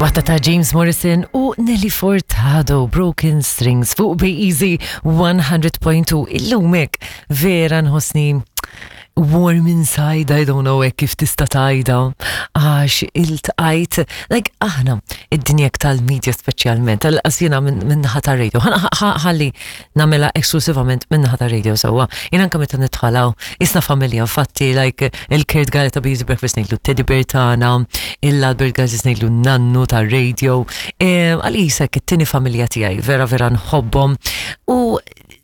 Waħda ta' James Morrison u Nelly Furtado, Broken Strings fuq Be Easy 100.2. Illumek vera nħossni warm inside, I don't know hekk kif tista' tgħidha, għax iltqajt, like aħna id-dinja tal-media speċjalment, tal-qas jiena minn naħa tar-radio, ħalli nagħmilha esklusivament minn naħa tar-radio sewwa. Jien anke meta nidħalaw, isna familja, infatti like il-Kurt Galea ta' Busy Breakfast ngħidlu Teddy Bear tagħna, il-Albert Gazis ngħidlu nannu tar-radio, għalisek it-tieni familja tiegħi, vera vera nħobbhom. U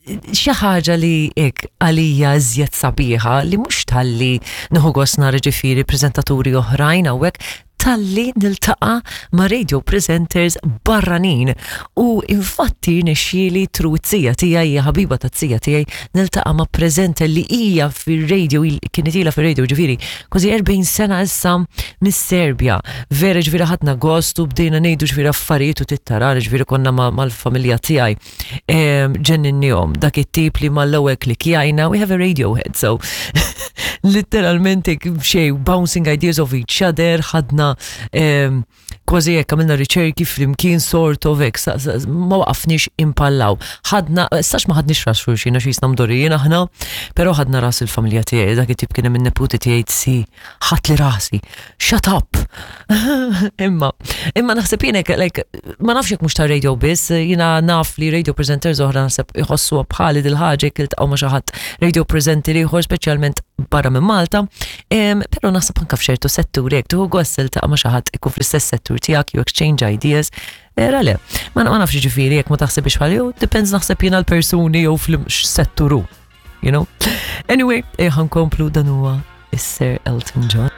xi ħaġa li hekk għalija iżjed sabiħa li mhux talli nieħu gost nara ġifieri preżentaturi oħrajn hawnhekk talli niltaqa' ma' radio presenters barranin u infatti rnexxieli through it-tija tiegħi hija ħabiba tat-tija tiegħi niltaqa' ma' presenter li hija fir-radio kienet ilha fir-radio ġifieri kważi 40 sena issa mis-Serbja. Vera ġifieri ħadna gost u bdejna ngħidu ġifieri affarijiet u tittara ġifieri konna mal-familja tiegħi. Ġenninnihom dak it-tip li mal-ewwel klikjajna, we have a radiohead, so literalment xej bouncing ideas of each other, ħadna kważi hekk għamilna riċerki flimkien sort of hekk, ma waqafniex impallaw. Ħadna, sax ma ħadniex ras xulxin għax jisna mdorijin aħna, però ħadna ras il-familja tiegħi, dak it-tip kien hemm in-neputi tiegħi si ħadt li rasi, shut up! Imma, imma naħseb jien like, ma nafx jekk mhux ta' radio biss, jiena naf li radio presenters oħra naħseb iħossu bħali dil-ħaġa jekk iltaqgħu ma' xi ħadd radio presenter ieħor speċjalment barra minn Malta, però naħseb anke f'ċertu setturi jekk tieħu gost tiltaqa' ma' xi ħadd ikun fl-istess settur tiegħek, you exchange ideas, Era le, ma nafx ġifieri jekk ma taħsibx bħal jew depends naħseb jiena l-persuni jew fl-setturu you know? Anyway, eh, ħankomplu dan huwa is-Sir Elton John.